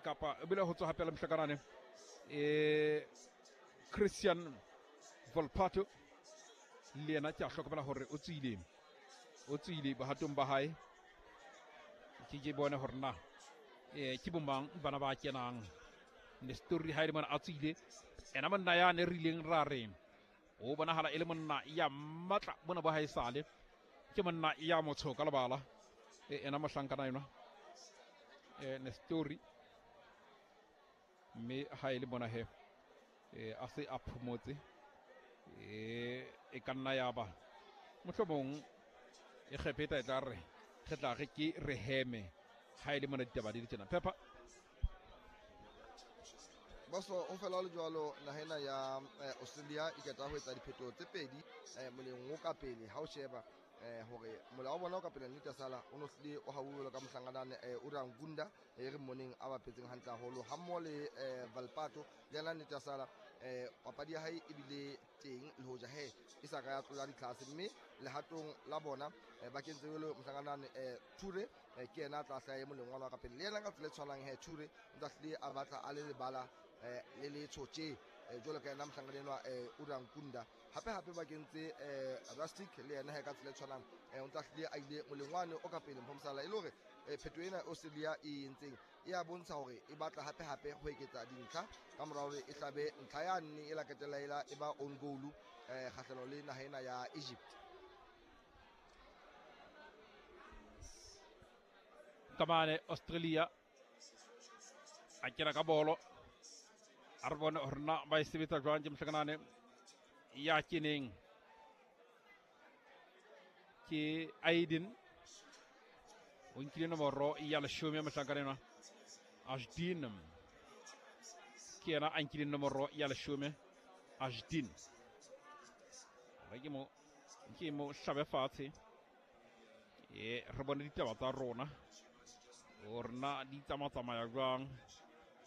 Kapa ebile ho tswa hape le mohlakanane Christian Volpato le yena ke a hlokomela hore o tswile, o tswile bohatong ba hae. Ke bone hore na ke bomang bana ba kenang. Nestori ha e le mona a tswile, ena monna ya ne re ileng ra re o bonahala e le monna ya matla bona bo haesale, ke monna ya motsho ka lebala. Ena mohlankana enwa Nestori, mme ha e le mona he a se a phomotse, e ka nna ya ba mohlomong e kgepeta e tla re re tla re ke re heme ha e le mona ditaba di le tjena. Pepper Boso o fela le jwalo naha ena ya Australia e qeta ho etsa diphetoho tse pedi moleng o ka pele. Ha o sheba hore mola wa bona o ka pele nnete sala o no hlile o hauwe ka mohlanganane Urangunda e re mmoneng a bapetseng hantle haholo ha mmoho le Valpato le yena nnete sala papadi ya hae ebile teng le hoja he e sa ka ya tlola ditlhase, mme lehatong la bona ba kentse jwalo mohlanganane Ture ke yena a tla hlaha e moleng wa ka pele, le yena ka tsela e tshwanang he Ture o tla hlile a batla a le lebala le letsho tje jwalo ka yena mohlankana enwa Urankunda. Hape hape ba kentse Rustic le yena he ka tsela e tshwanang o ntsa hlile a ile moleng wane o ka pele Mphomsala, e le hore phetho ena Australia e entseng e a bontsha hore e batla hape hape ho eketsa dintlha ka mora hore e hlabe ntlha ya nne e la qetella ela e ba own goal kgahlano le naha ena ya Egypt. Kamane Australia a kena ka bolo, a re bone hore na ba e sebetsa jwang. Ke mohlakanane ya keneng ke Aiden, o nkile nomoro ya leshome mohlankana enwa Ashdin, ke yena a nkileng nomoro ya leshome Ashdin. Re ke mo hlabe fatshe, re bone ditaba tsa rona hore na di tsamatsamaya jwang.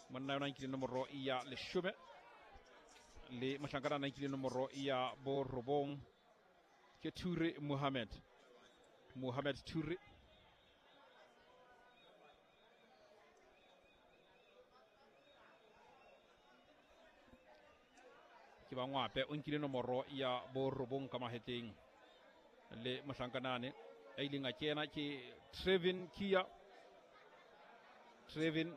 Monna yona nkile nomoro ya leshome le mohlankana a nkile nomoro ya borobong ke Ture Mohammed, Mohammed Ture. Ke ba ngwape o nkile nomoro ya borobong ka mahetleng le mohlankanane a ileng a kena ke Trevin Kia. Trevin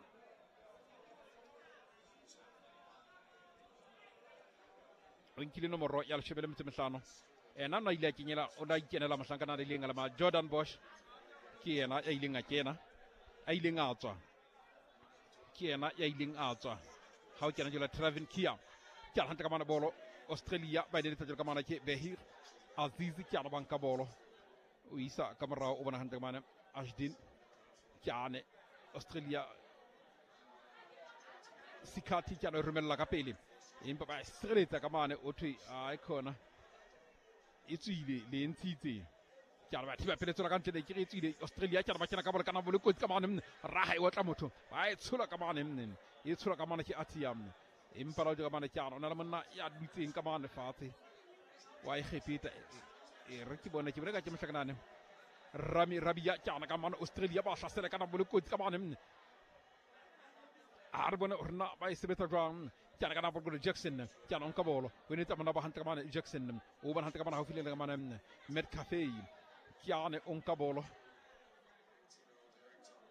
o nkile nomoro ya leshome le metso e mehlano. Ena o ile a kenyela, o la ikenela mohlankana a ileng a lema Jordan Bosch, ke yena ya ileng a kena, a ileng a tswa, ke yena ya ileng a tswa. Ha o kena jwale Trevin Kia ke a hantle ka mana bolo Australia ba ile letsa ka mana ke Behir Aziz ke a banka bolo o isa ka morao o bona hantle ka mana Ashdin ke ane Australia Sikati ke a romella ka pele empa ba sireletsa ka mane o thwe ai khona e tswile le ntshitse ke a ba thiba pele tswela ka ntle ke re tswile Australia ke a ba kena ka bolo kana bolo kotsi ka mane raha e otla motho ba e tshola ka mane e tshola ka mane ke Atiam empa la ka mane ke a ona le monna ya dutseng ka mane fatshe wa e kgepeta e re ke bone ke bone ka ke mohlakanane Rami Rabia ke ana ka mane Australia ba hlasela kana bolo kotsi ka mane a re bone hore na ba e sebetsa jwang. Ke ana ka nako bolo Jackson ke ana nka bolo o ne tsamana ba hantle ka mane Jackson o bona hantle ka mane haufi le ka mane Met Cafe ke ane o nka bolo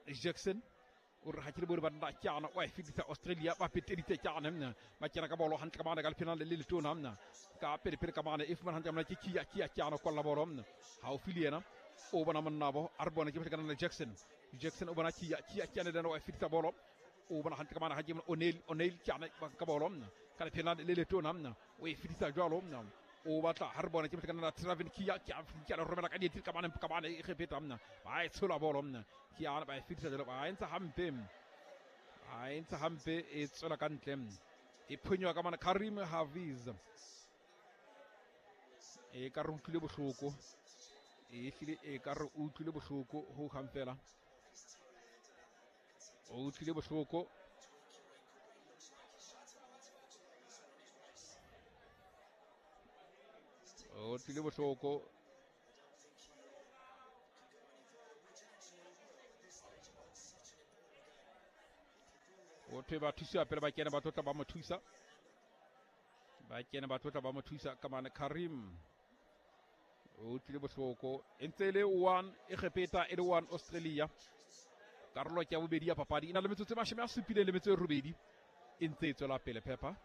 Jackson o re ha ke le bone banna ke ana o e fetisa Australia ba peteditse ke ana ba kena ka bolo hantle ka mane ka lephena le letona mna ka pele pele ka mane e fumana hantle ka mane ke Kia Kia ke ana kolla bolo mna haufi le yena o bona monna bo a re bone ke kana le Jackson Jackson o bona Kia Kia ke ana le o e fetisa bolo o bona hantle ka mane ha ke O'Neil ke ana ka bolo mna ka lephena le letona mna o e fetisa jwalo mna o batla ha re bone ke kana la Trevin Kia ke a le romela ka dietsi ka mane e kgepeta mna ba e tshola bolo mna ke ana ba e fetisa jwalo ba entsa hampe a entsa hampe e tswela ka ntle e phonywa ka mane Karim Hafiz e ka re utlwile bohloko e hlile e ka re utlwile bohloko ho hang fela o utlwile bohloko o tlile bohloko O thwe ba thusiwa pele ba kene ba tlotla ba mo thusa. Ba kene ba tlotla ba mo thusa ka mane Karim. O tlile bohloko. E ntse e le 1 Egepeta e le 1 Australia. Karolo ke ya bobedi ya papadi e na le metsotso e 78 e ntse e tswela pele Pepper.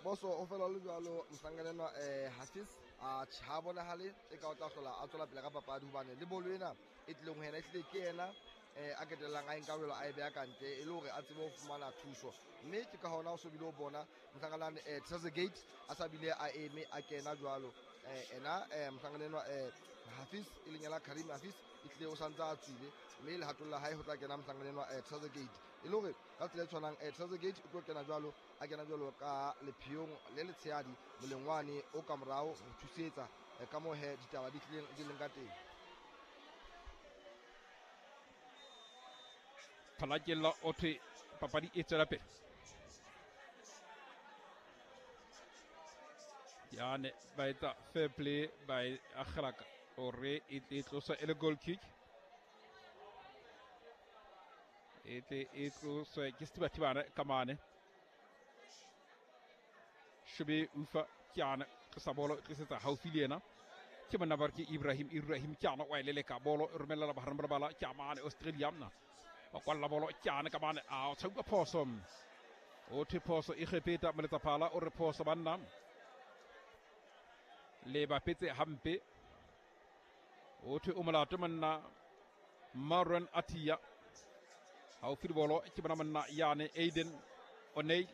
Boso o fela le jwalo mohlankana enwa Hafiz a ha bonahale e ka o tla hlola a tswela pele ka papadi hobane le bolo ena e tlileng ho yena e tlile ke yena a ketellang a nka welo a e beha ka ntle e le hore a tsebe ho fumana thuso, mme ke ka hona o so bile o bona mohlankana Trezeguet a sa bile a eme a kena jwalo ena mohlankana enwa Hafiz e leng yena Karim Hafiz e tlile o santse a tswile, mme lehatong la hae ho tla kena mohlankana enwa Trezeguet e le hore ka tsela e tshwanang Trezeguet o tlo kena jwalo a kena jwalo ka lepheong le letshehadi molengwane o ka morao ho thusetsa ka moo he ditaba di tlileng di leng ka teng. Phalakella o thwe papadi e tswela pele. Yane ba etsa fair play ba e akgela hore e tle e tloswe e le goal kick. E tle e tloswe ke Setibatibane ka mane. Shebe ufa Kyana tlosa bolo e tlisetsa haufi le yena. Ke monna ba re ke Ibrahim Ibrahim Kyana wa e leleka bolo e romella bahareng ba lebala ke mane Australia mna. Ba kwalla bolo Kyana ka mane a o tshauka phoso. O thwe phoso e Egepeta moletsaphala o re phoso banna. Le bapetse hampe. O thwe o molato monna Marwan Atia. Haufi le bolo ke bona monna yane Aiden O'Neill.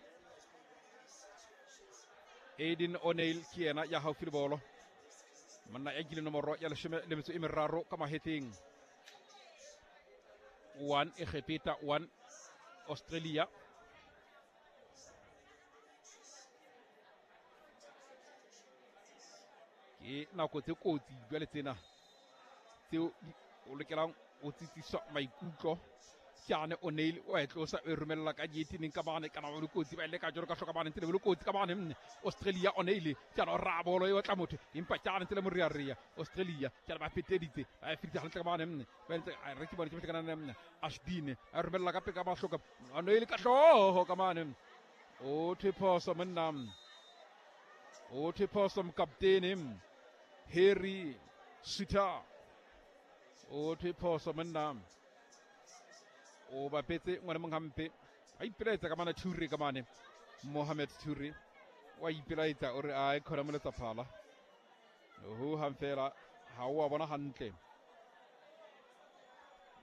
Aiden O'Neill ke yena ya haufi le bolo. Monna ya nkile nomoro ya 13 ka mahetleng. 1 Egepeta 1 Australia. Ke nako tse kotsi jwale tsena tseo o lokelang o tsitsiswa maikutlo. Kyane O'Neill o e tlosa e romella ka dietineng ka mane kana ba le kotsi ba ile ka joro ka hloka mane ntse le kotsi ka mane nne Australia O'Neill Kyane o ra bolo e otla motho empa Kyane ntse le moriaria Australia Kyane ba feteditse ba e fitse hantle ka mane nne ba ntse a re ke bone ke kana nne Ashdine a romella ka peka ba hloka O'Neill ka hlooho ka mane o thwe phoso monna o thwe phoso mokaptene Harry Suter o thwe phoso monna o bapetse ngwana mong hampe a ipelaetsa ka mane Toure ka mane Mohamed Toure wa ipelaetsa o re a e khona moletsaphala ho hang fela ha o a bona hantle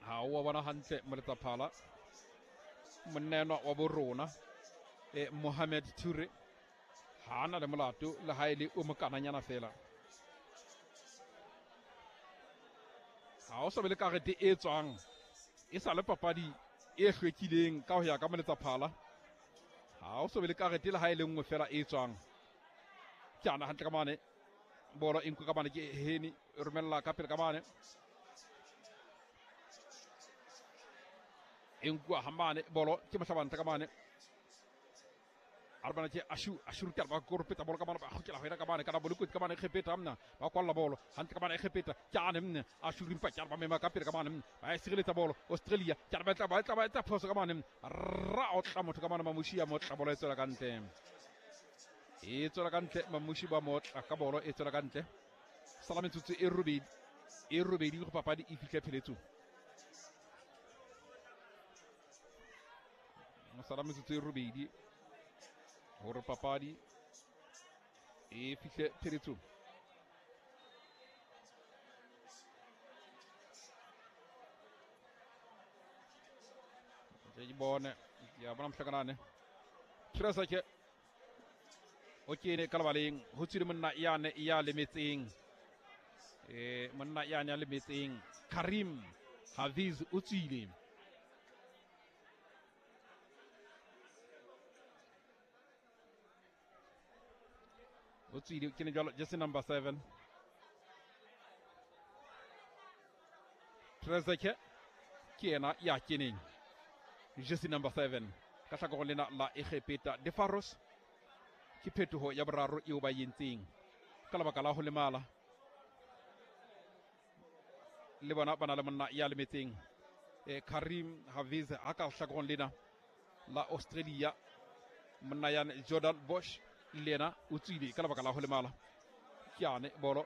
ha o a bona hantle moletsaphala monna enwa wa bo rona Mohamed Toure ha na le molato le ha e le o mokananyana fela ha o sa be le karete e tswang e sa le papadi e hlwekileng ka ho ya ka moletsaphala ha o so be le karete le ha e le nngwe fela e tswang. Ke ana hantle ka mane bolo e nkwe ka mane ke Heni e romella ka pele ka mane e nkuwa ha mane bolo ke mohlabanta ka mane a re bana ke Ashu Ashu ke ba korpeta bolo ka mane ba kgutlela ho yena ka mane kana bolo kotsi ka mane Egepeta mna ba kwalla bolo hantle ka mane Egepeta ke ane mne Ashu rimpa ke ba mema ka pele ka mane ba e sireletsa bolo Australia ke ba tla ba tla ba etsa phoso ka mane ra otla motho ka mane Mamushi ya motla bolo e tswela ka ntle e tswela ka ntle Mamushi ba motla ka bolo e tswela ka ntle sala metsotso e robedi go papadi e fihle pheletsong sala metsotso e robedi hore papadi e fihle pheletsong. Ke bone ke a bona mohlakanane Trezeguet o kene ka lebaleng ho tswile monna yane ya lemetseng monna yane ya lemetseng Karim Hafiz o tswile. O tswile ke ne jwalo jersey number 7 Trezeguet ke yena ya keneng jersey number 7 ka hlakoreng lena la Egepeta. De Faros ke phetoho ya boraro eo ba entseng ka lebaka la ho lemala le bona ba na le monna ya lemetseng Karim Haviz a ka hlakoreng lena la Australia. Monna yane Jordan Bosch le yena o tswile ka lebaka la ho lemala. Ke yane bolo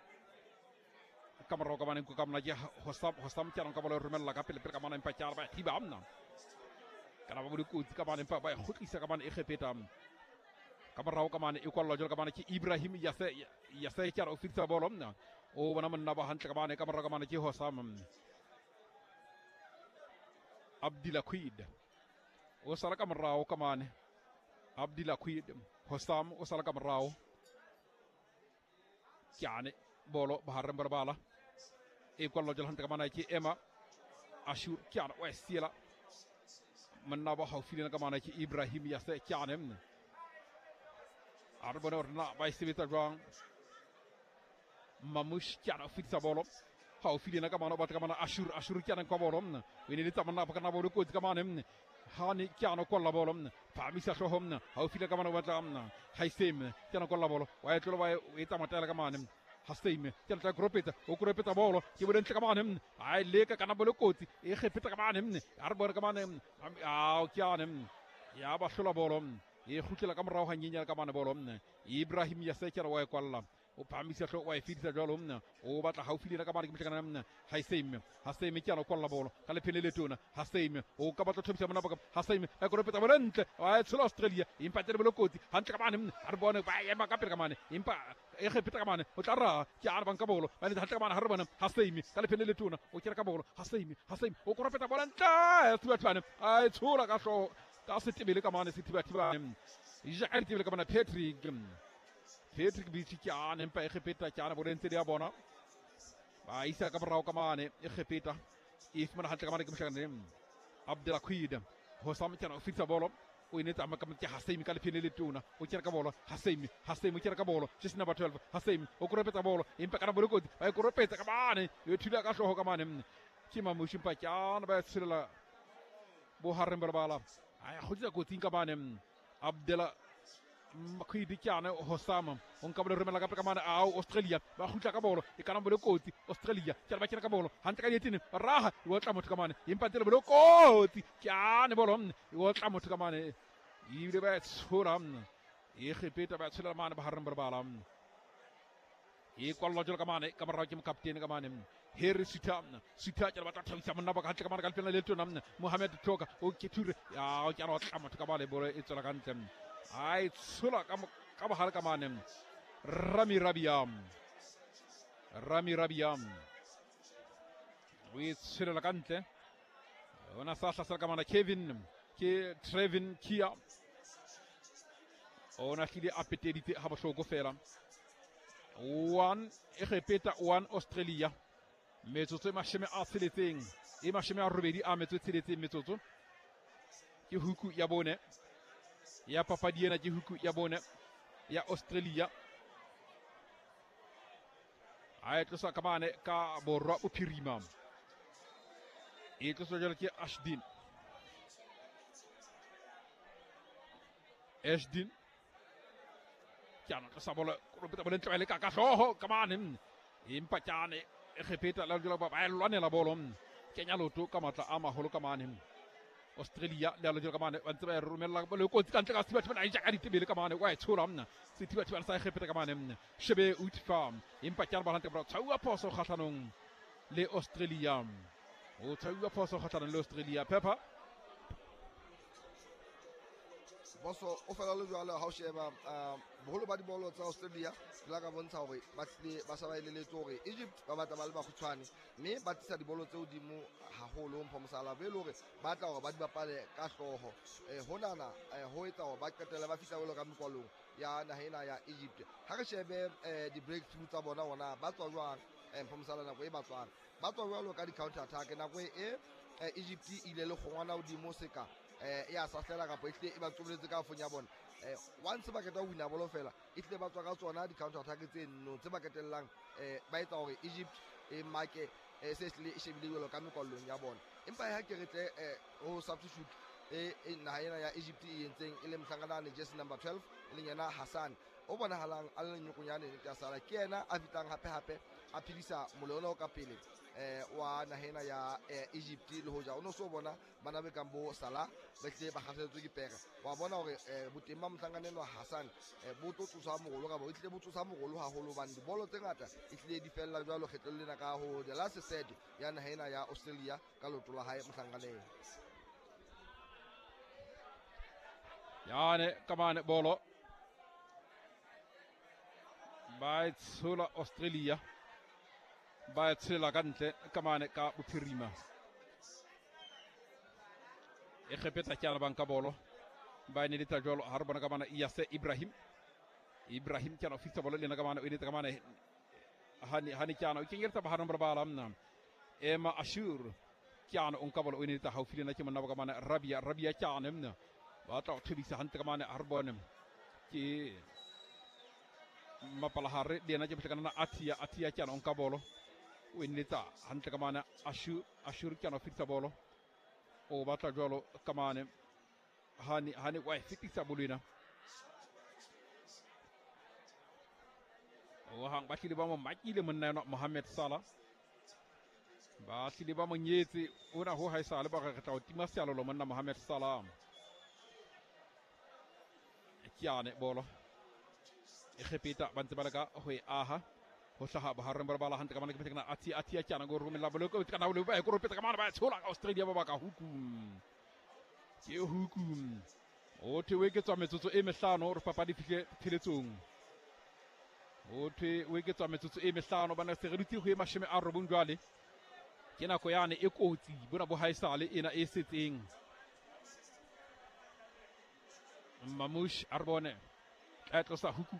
ka morao ka mane ka mona ke Hosam ke ka bolo e romella ka pele pele ka mane empa ke ba thiba amna kana ba dikotsi ka mane empa ba e kgutlisa ka mane e kgepeta ka morao ka mane e kwallwa jwalo ka mane ke Ibrahim Yase ke o fitisa bolo mna o bona monna ba hantle ka mane ka morao ka mane ke Hosam Abdillah Quid o sala ka morao ka mane Abdillah Quid Hosam o sala ka morao ke ane bolo bahareng ba bala e kwallwa jwalo hantle ka mane ke Emma Ashur ke ane o e siela monna ba haufi le ka mane ke Ibrahim Yase ke ane mne a re bone hore na ba e sebetsa jwang. Mamush ke ane o fetisa bolo haufi le yena ka mane o batla ka mane Ashur ke ane kwa bolo mne o e neletsa monna ba kana bolo kotsi ka mane mne Hani ke ane kwalla bolo mne phamisa hlooho mne haufi le ka mane o batla mne Haisem ke ane kwalla bolo wa e tlola wa e etsa matela ka mane Haseim ke tla kropetsa o kropetsa bolo ke bole ntle ka mane ai leka kana bolo kotsi e kgepetsa ka mane a re bone ka mane a ke ane ya ba hlola bolo e kgutlela ka morao hanyenyane ka mane bolo Ibrahim Yase ke re wa e kwalla o phamisa hlooho wa e fetisa jwalo o batla haufi le yena ka mane ke mohlakana Haseim Haseim ke ana kwalla bolo ka lephele le tona Haseim o ka batla thobisa mona baka Haseim a kropetsa bolo ntle wa e tshola Australia empa tsene bolo kotsi hantle ka mane a re bone ba ema ka pele ka mane empa e kgepeta ka mane o tla ra ke a re banka bolo ba ne hantle ka mane ha re bone Haseim ka lephele le tona o kere ka bolo Haseim o kropetsa bolo ntle Sethibathibane a e tshola ka hlooho ka setebele ka mane Sethibathibane ja ditebele ka mane Patrick Bichi ke ane empa e kgepeta ke ane bolo ntse di a bona ba isa ka morao ka mane e kgepeta e fumana hantle ka mane ke mohlakane Abdullah Quid Hosam ke ane o fitisa bolo o e netsa ka ke Haseim ka lephene le tona o kere ka bolo Haseim o kere ka bolo jersey number 12 Haseim o koropetsa bolo empa kana bolo kotsi ba e koropetsa ka mane e thula ka hlooho ka mane ke Mamushi empa ke ane ba e tsholela bohareng ba lebala a ya kgutlisa kotsing ka mane Abdullah Makhwidi ke ane Hosam o nka bolo romela ka pele ka mane ao Australia ba kgutla ka bolo e kana bolo kotsi Australia ke ba kena ka bolo hantle ka dietene raha e otla motho ka mane empa tsele bolo kotsi ke ane bolo e otla motho ka mane ebile ba e tshola e kgepeta ba tshola mane bahareng ba lebala e kwallwa jwalo ka mane ka morao ke mokaptene ka mane Harry Sita ke batla thabisa monna ba ka hantle ka mane ka lephela le tona Mohamed Toka o ke ture ya o ke a otla motho ka mane bolo e tswela ka ntle ai tshola ka bohale ka mane Rami Rabiam o e tsholela ka ntle ona sa hlasela ka mane Kevin ke Trevin Kia ona hlile a peteditse ha bohloko fela 1 Egepeta 1 Australia metsotso e 60 e 88 a metso e 6 metsotso ke huku ya bone ya papadi ena ke huku ya bone ya Australia a e tlosa ka mane ka borwa bophirima e tloswa jwalo ke Ashdin ke ana tlosa bolo koropetsa bolo ntle ba e leka ka hlooho ka mane empa ke ane e kgepeta la jwalo ba e lwanela bolo kenya loto ka matla a maholo ka mane Australia le a jwalo ka mane ba ntse ba e romella bolo kotsi ka ntle ka Sethibathibane a e ja ka ditebele ka mane wa e tshola mna Sethibathibane sa e kgepeta ka mane Shebe Utfa empa ke ana ba hantle ba tshauwa phoso kgahlanong le Australia o tshauwa phoso kgahlanong le Australia Pepper Boso o fela le jwalo ha o sheba boholo ba dibolo tsa Australia di la ka bontsha hore ba tlile ba sa ba eleletse hore Egypt ba batla ba le bakgutshwane mme ba tlisa dibolo tse hodimo haholo mpho mosala be le hore ba tla hore ba di bapale ka hlooho honana ho etsa hore ba qetelle ba fihla jwalo ka mekwalong ya naha ena ya Egypt. Ha re shebe di-breakthrough tsa bona hona ba tswa jwang mpho mosala nako e ba tswang ba tswa jwalo ka di-counter attack nako e Egypt e ile le kgongwana hodimo seka ya sahlela kapa e hlile e ba tsoboletse ka fong ya bona once ba qeta ho wina bolo fela e hlile ba tswa ka tsona di-counter attack tse nno tse ba qetellang ba etsa hore Egypt e make se hlile e shebile jwalo ka mekwallong ya bona. Empa ha ke re tle ho substitute e naha ena ya Egypt e entseng e le mohlankana jersey number 12 e leng yena Hassan o bonahalang a le nyokonyane nnete ya sala ke yena a fitlang hape hape a phedisa mole ona o ka pele wa nahena ya Egypt le hoja o no so bona bana be kang bo Salah ba tle ba kgahletswe ke pere wa bona hore boteng ba mohlangane wa Hassan bo tlo tsosa mogolo ka bo itle bo tsosa mogolo haholo bane dibolo tse ngata e tlile di fella jwalo kgetlong lena ka ho the last set ya nahena ya Australia ka loto la hae mohlanganeng. Yane kamane bolo ba e tshola Australia ba e tshela ka ntle kamane ka bophirima e kgepetsa ke ana banka bolo ba ne letsa jwalo ha re bona ka bana Yase Ibrahim Ibrahim ke ana fitsa bolo le ena ka bana o ne ka bana hani ke ana o kenyeletsa ba harong ba mna Ema Ashur ke ana o nka bolo o ne letsa haufi le ena ke monna ba ka bana Rabia Rabia ke ana mna ba tla o thebisa hantle ka bana ha re bone ke mapalahare le ena ke mohlakana Atia Atia ke ana o nka bolo o ne letsa hantle ka bana Ashur Ashur ke ana fitsa bolo o batla jwalo ka mane hani wa fitisa bolwena o hang ba tlile ba mo makile monna yona Mohamed Salah ba tlile ba mo nyetse ona ho haesale ba re tla o tima sealolo monna Mohamed Salah ke ane bolo e kgepeta ba ntse ba leka ho e aha ho hlaha bohareng ba bala hantle ka mane ke mohlakana Atia Atia ke ana go romella bolo ko kana o ba e koropetsa ka mane ba tshola ka Australia ba ka huku ke huku o thwe o eketswa metsotso e mehlano re papadi fihle pheletsong o thwe o eketswa metsotso e mehlano bana se re dutse ho e 90 jwale ke nako yane e kotsi bona bo haesale ena e setseng Mamush Arbone a tlosa huku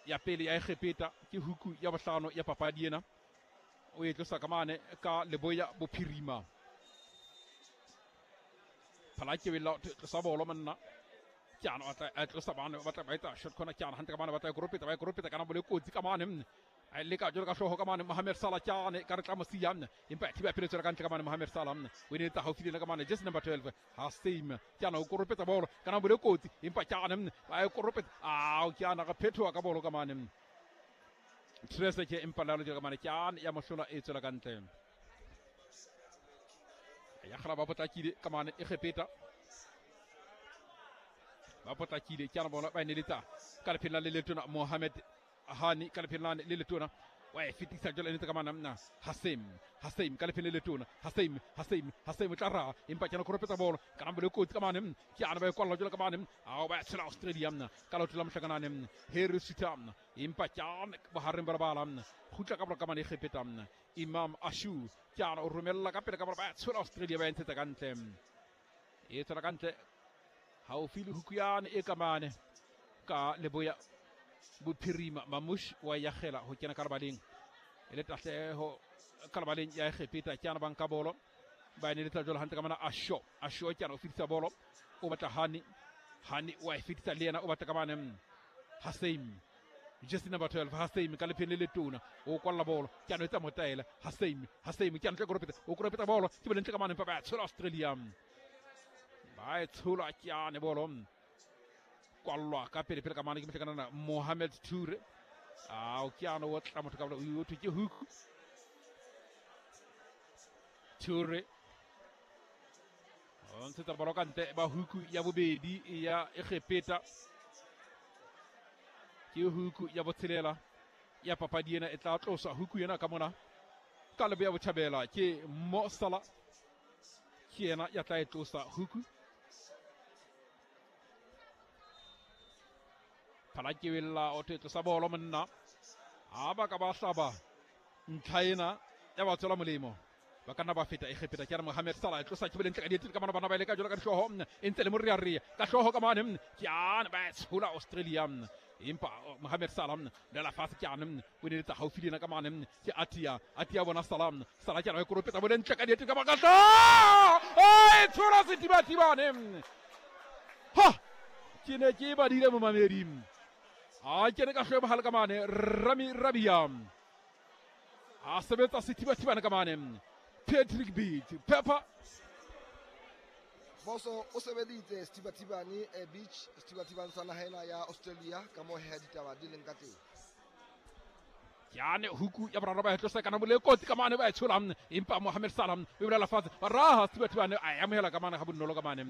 ya pele ya Egepeta ke huku ya bohlano ya papadi ena o e tlosa ka mane ka leboya bophirima phala ke wela tlosa bolo monna ke ana a tlosa bana ba tla ba etsa shot corner ke ana hantle ka mane ba tla koropeta ba koropeta kana bole kotsi ka mane a leka jalo ka hlooho ka mane Mohamed Salah ke ane ka re tla mo siya empa thiba pele tswela ka ntle ka mane Mohamed Salah o ne etsa haufi le ka mane jersey number 12 Hasim ke ana o koropetsa bolo kana bole kotsi empa ke ane ba e koropetsa a ke ana ga phethoa ka bolo ka mane Trese ke empa lalo ka mane ke ane ya mohlola e tswela ka ntle ya kgala ba potlakile ka mane e kgepeta ba potlakile ke ana bona ba neletsa ka lephela le letona Mohamed Hani ka lephela le letona wa e fetisa jalo ene ka mana mna Hasim Hasim ka lephela le letona Hasim Hasim Hasim tla ra empa ke ana koropetsa bolo ka nambole kotsi ka mane ke ana ba e kwalla jalo ka mane a ba tshela Australia mna ka lotho la mohlakana ne Harry Sita mna empa ke ana bohareng ba bala mna khutla ka bolo ka mane e kgepeta mna Imam Ashu ke ana o romella ka pele ka bolo ba tshela Australia ba ntshetsa ka ntle e tswela ka ntle haufi le hukuyane e ka mane ka leboya bophirima Mamush wa yagela ho kena ka lebaleng e le tahleho ka lebaleng ya Egepeta ke ana banka bolo ba ne letsa jalo hantle ka mana Asho Asho ke ana o fetisa bolo o batla Hani Hani wa e fetisa le yena o batla ka mane Hasim jersey number 12 Hasim ka lepheng le letona o kwalla bolo ke ana o etsa motaela Hasim Hasim ke ana tle koropeta o koropeta bolo ke bole ntle ka mane ba tshola Australia ba e tshola ke ane bolo kwallwa ka pele pele ka mane ke mohlakana Mohamed Toure a o ke ana o tla motho ka bolo o thwe ke hook Toure o ntshetsa bolo ka ntle ba huku ya bobedi ya Egepeta ke huku ya botshelela ya papadi ena e tla tloswa huku ena ka mona ka leboya botjhabela ke Mo Salah ke yena ya tla e tlosa huku phala ke wella o tlosa bolo monna ha ba ka ba hlaba ntlha ena ya ba tswela molemo ba ka nna ba feta Egepeta ke re Mohamed Salah e tlosa ke bolentle ka dietile ka mane bana ba ile ka jalo ka dihlooho e ntse le morearea ka hlooho ka mane ke ane ba tshola Australia empa Mohamed Salah dela fatshe ke ane o ne letsa haufi le ena ka mane ke Atia Atia bona Salah Salah ke ana e koropetsa bolentle ka dietile ka maka e tshola setibatibane ha ke ne ke badile momamedi a kene ka hloe bohale ka mane Rami Rabia a sebetsa sethibathibane ka mane Patrick Beach Pepper Boso o sebeditse sethibathibane Beach sethibathibane sa naha ena ya Australia ka moo he ditaba di leng ka teng. Yane huku ya boraro ba e tlosa kana mole kotsi ka mane ba e tshola, empa Mohamed Salah o e bolela fatshe, ba raha Stuart bane a e amohela ka mane ga bonolo ka mane.